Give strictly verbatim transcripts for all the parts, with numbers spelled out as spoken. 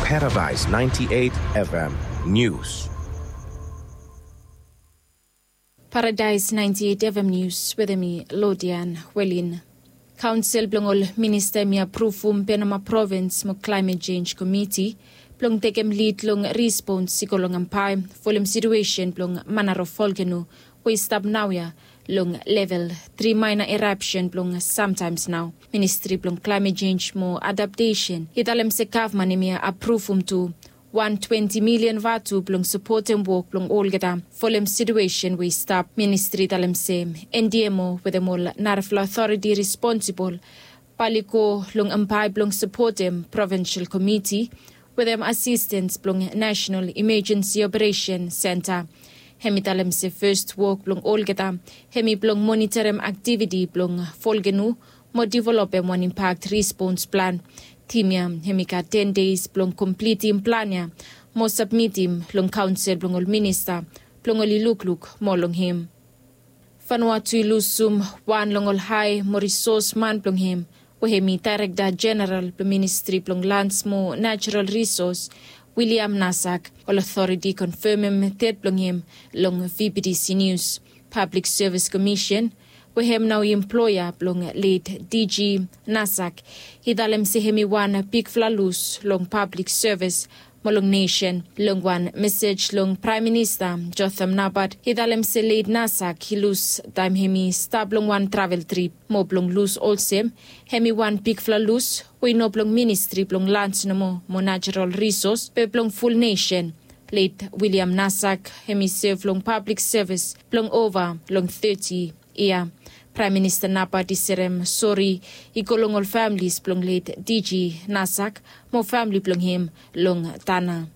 Paradise ninety-eight F M News. Paradise ninety-eight F M News wetem mi Lodian Welin. Kaonsel blong ol minista hemi apruvum Penama Provins mo Climate Change Komiti blong tekem lid long rispons i go long Ambae folem situesen blong Manaro volkeno we i stap naoia long level tri maena erapsen blong samtaems nao. Ministri blong Climate Change mo Adaptesen i talem se gavman hemi apruvum tu wan twenti milian vatu blong sapotem wok blong olgeta folem situesen we i stap. Ministri i talem se N D M O wetem ol narafala otoriti responsibol bae oli go long Ambae blong sapotem Provinsel Komiti wetem asistens blong Nasenal Imajensi Operesen Senta. Hemi talem se fes wok blong olgeta hemi blong moniterem aktiviti blong volkeno mo developem wan impak rispons plan. Tim ya hemi gat ten deis blong komplitim plan ya mo sabmitim long kaonsel blong ol minista blong oli lukluk moa long hem. Vanuatu i lusum wan long ol hae mo risos man blong hem we hemi Daerekta Jeneral blong Ministri blong Lans mo Najerol Risos, William Nasak. Ol otoriti i konfemem ded blong hem long V P T C Nius. Pablik Sevis Komisen we hem nao i emploea blong led D G Nasak i talem se hemi wan bigfala lus long pablik sevis mo long nesen. Long wan mesej long Praem Minista Jotham Napat i talem se led Nasak i lus taem hemi stap long wan travel trip mo blong lus olsem hemi wan bigfala lus we i no blong Ministri blong Lans nomo mo Najerol Risos be blong ful nesen. Led William Nasak hemi sev long pablik sevis blong ova long teti yia. Praem Minista Napat i serem sori i go long ol familis blong led D G Nasak mo famili blong hem long Tanna.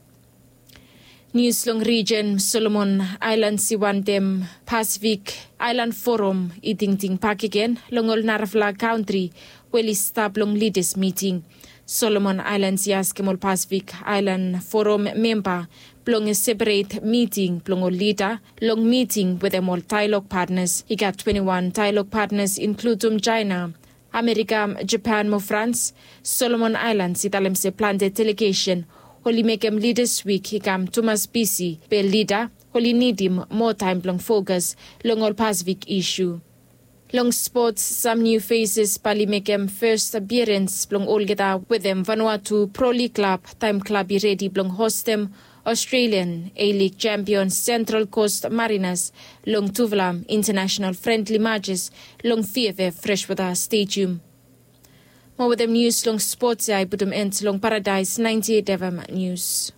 Nius long rijen Solomon Aelans i wantem Pasifik Aelan Forum i tingting bakegen long ol narafala kantri we oli stap long lidas miting. Solomon Aelans i askem ol Pasifik Aelan Forum memba blong seperet miting blong ol lida long miting wetem ol daelog patnas. I gat twenti wan daelog patnas inkludum Jaena, Amerika, Japan mo Frans. Solomon Aelans i talem se plante delegesen oli mekem Lidas Wik i kam tumas bisi be lida oli nidim moa taem blong fokas long ol Pasifik isu. Long spots, sam niu feses bae oli mekem fes apiarens blong olgeta wetem Vanuatu Pro Lig klab taem klab i redi blong hostem Australian A-League champion Central Coast Mariners long tufala international friendly matches long V F F Freshwater Stadium. Mo wetem nius long spots ya i putum end long Paradise ninety eight F M News.